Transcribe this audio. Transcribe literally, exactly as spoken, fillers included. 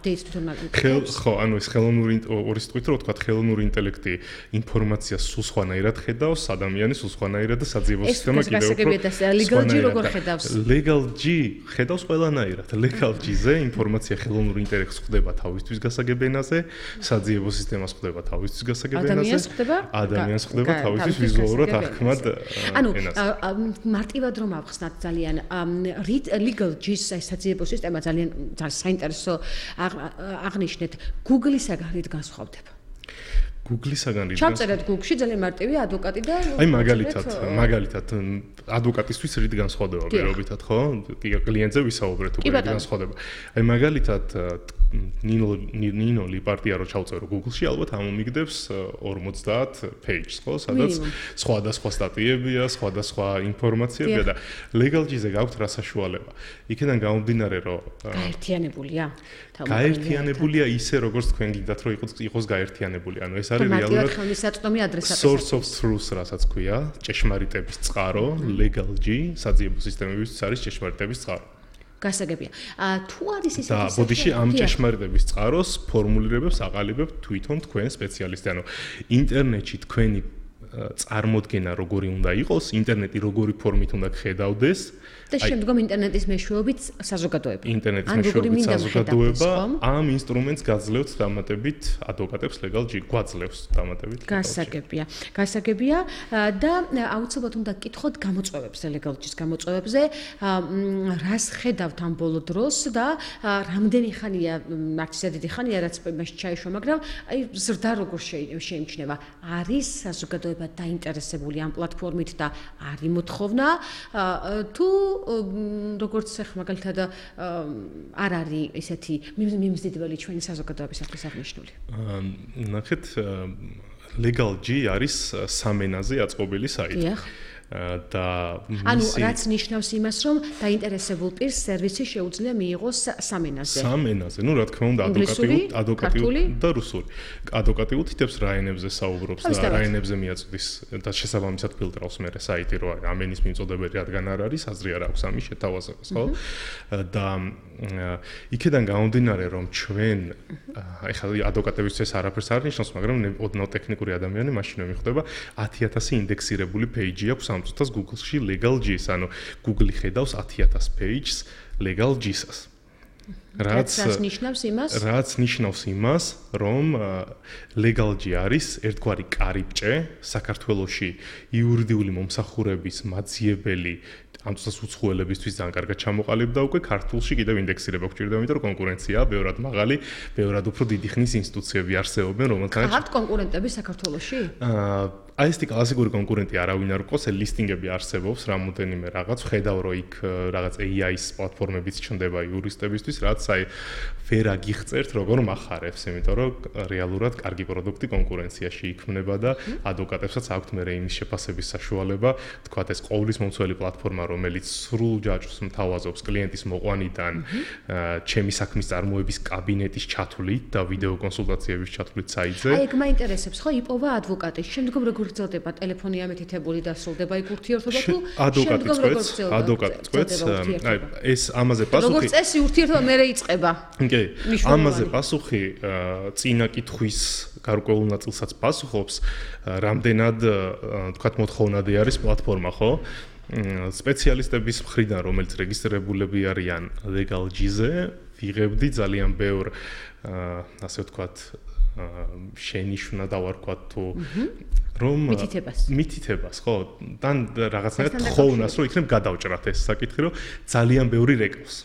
update თვითონ ხელ ხო, ანუ ეს ხელოვნური ორი სიტყვით რო ვთქვა, ხელოვნური ინტელექტი ინფორმაციას სულ სხვანაირად ხედავს, ადამიანის სულ სხვანაირად და საძიებო სისტემა კიდევ უფრო legal G როგორ ხედავს? legal G ხედავს ყველანაირად. legal G-ზე ინფორმაცია ხელოვნური ინტელექტს ხვდება თავისთვის გასაგებ ენაზე, საძიებო სისტემას ხვდება თავისთვის გასაგებ ენაზე. ადამიანს ხვდება? ადამიანს ხვდება თავისთვის ვიზუალურად აღქმად ენაზე. ანუ მარტივად რომ ავხსნათ ძალიან legal G-ს საძიებო სისტემა ძალიან საინტერესო აღნიშნეთ. Google-ისაგან რით განსხვავდება? Google-ისაგან რით? ჩავწერეთ Google-ში ძალიან მარტივია ადვოკატი და აი მაგალითად, მაგალითად ადვოკატისთვის რით განსხვავდება პირობითად, ხო? კლიენტზე ვისაუბრეთ უკვე რით განსხვავდება. აი მაგალითად ნინო ნინო ლიპარტია რო ჩავწერო Google-ში, ალბათ ამომიგდებს ორმოცდაათ pages, ხო? სადაც სხვადასხვა სტატიებია, სხვადასხვა ინფორმაციებია და legal G-ზე გაქვთ რა საშუალება. იქიდან გამომდინარე, რომ გაერთიანებულია. გაერთიანებულია ისე, როგორც თქვენ გინდათ, რომ იყოს გაერთიანებული. ანუ ეს არის რეალურად ხელმისაწვდომი ადრესატი. source of truth, რასაც ქვია, ჭეშმარიტების წყარო, legal G, საძიებო სისტემებისთვის არის ჭეშმარიტების წყარო. გასაგებია. თუ არის ისეთი და ბოდიში ამ ჭეშმარიტების წყაროს ფორმულირებებს აყალიბებ თვითონ თქვენ სპეციალისტი. ანუ ინტერნეტში თქვენი წარმოდგენა როგორი უნდა იყოს, ინტერნეტი როგორი ფორმით უნდა ხედავდეს და შემდგომ ინტერნეტის მეშვეობით საზოგადოება. ინტერნეტის მეშვეობით საზოგადოება ამ ინსტრუმენტს გაძლევთ დამატებით ადვოკატებს legal G გვაძლევს დამატებით. გასაგებია. გასაგებია და აუცილებლად უნდა გკითხოთ გამოწვევებზე legal G-ის გამოწვევებზე, რას ხედავთ ამ ბოლო დროს და რამდენი ხანია, არც ისე დიდი ხანია, რაც იმაში ჩაიშვა, მაგრამ აი ზრდა როგორ შეიმჩნევა. არის საზოგადოება დაინტერესებული ამ პლატფორმით და არის მოთხოვნა თუ როგორც ახლა მაგალითად არ არის ესეთი მიმზიდველი ჩვენი საზოგადოებისათვის აღნიშნული. ნახეთ, legal G არის სამენაზე აწყობილი საიტი. დიახ. და ანუ რაც ნიშნავს იმას, რომ დაინტერესებულ პირს სერვისი შეუძლია მიიღოს სამენაზე. სამენაზე, ну, რა თქმა უნდა, ადვოკატიულ, ადვოკატიულ და რუსული. ადვოკატიულ თითებს რა ენებზე საუბრობს და რა ენებზე მიაწვდის და შესაბამისად ფილტრავს მე საიტი, რომ ამ ენის მიმწოდებელი რადგან არ არის, აზრი არ აქვს ამის შეთავაზებას, ხო? და იქიდან გამომდინარე, რომ ჩვენ ეხლა ადვოკატებისთვის არაფერს არ ნიშნავს, მაგრამ ოდნავ ტექნიკური ადამიანი მაშინ მიხვდება ათი ათასი ინდექსირებული page აქვს ამ წუთას Google-ში legal G-ს, ანუ Google ხედავს ათი ათას pages legal G-სას. რაც ნიშნავს იმას? რაც ნიშნავს იმას, რომ legal G არის ერთგვარი კარიბჭე საქართველოში იურიდიული მომსახურების მაძიებელი ამ წუთას უცხოელებისთვის ძალიან კარგად ჩამოყალიბდა უკვე ქართულში კიდევ ინდექსირება გვჭირდება, იმიტომ რომ კონკურენციაა ბევრად მაღალი, ბევრად უფრო დიდი ხნის ინსტიტუციები არსებობენ, რომელთანაც ხართ კონკურენტები საქართველოში? აა აი ეს კლასიკური კონკურენტი არავინ არ ყავს, ლისტინგები არსებობს, რამოდენიმე რაღაც, ხედავ რომ იქ რაღაც A I-ის პლატფორმებიც ჩნდება იურისტებისთვის, რაც აი ვერ აგიხწერთ როგორ מחარებს, იმიტომ რომ რეალურად კარგი პროდუქტი კონკურენციაში იქმნება და ადვოკატებსაც აქვთ მე იმის შეფასების საშუალება, თქვათ ეს ყოვლის მომცველი პლატფორმა, რომელიც სრულ ჯაჭვს მთავაზობს კლიენტის მოყვანიდან, ჩემი საქმის წარმოების კაბინეტის ჩათვლით და ვიდეო კონსულტაციების ჩათვლით საიტზე. აი ეგ მაინტერესებს, ხო, იპოვა ადვოკატი, შემდგომ როგორ გრძელდება ტელეფონი ამეთითებული და სრულდება იქ ურთიერთობა თუ შემდგომ როგორ გრძელდება? ადვოკატი წყვეტს, აი ეს ამაზე პასუხი. როგორ წესი ურთიერთობა მე იწყება? კი, ამაზე პასუხი წინა კითხვის გარკვეულ ნაწილსაც პასუხობს, რამდენად თქვათ მოთხოვნადი არის პლატფორმა, ხო? სპეციალისტების მხრიდან, რომელიც რეგისტრირებულები არიან legal G-ზე, ვიღებდი ძალიან ბევრ ასე ვთქვათ შენიშვნა დავარქვათ თუ რომ მითითებას მითითებას ხო და რაღაცნაირად თხოვნას რომ იქნებ გადავჭრათ ეს საკითხი რომ ძალიან ბევრი რეკავს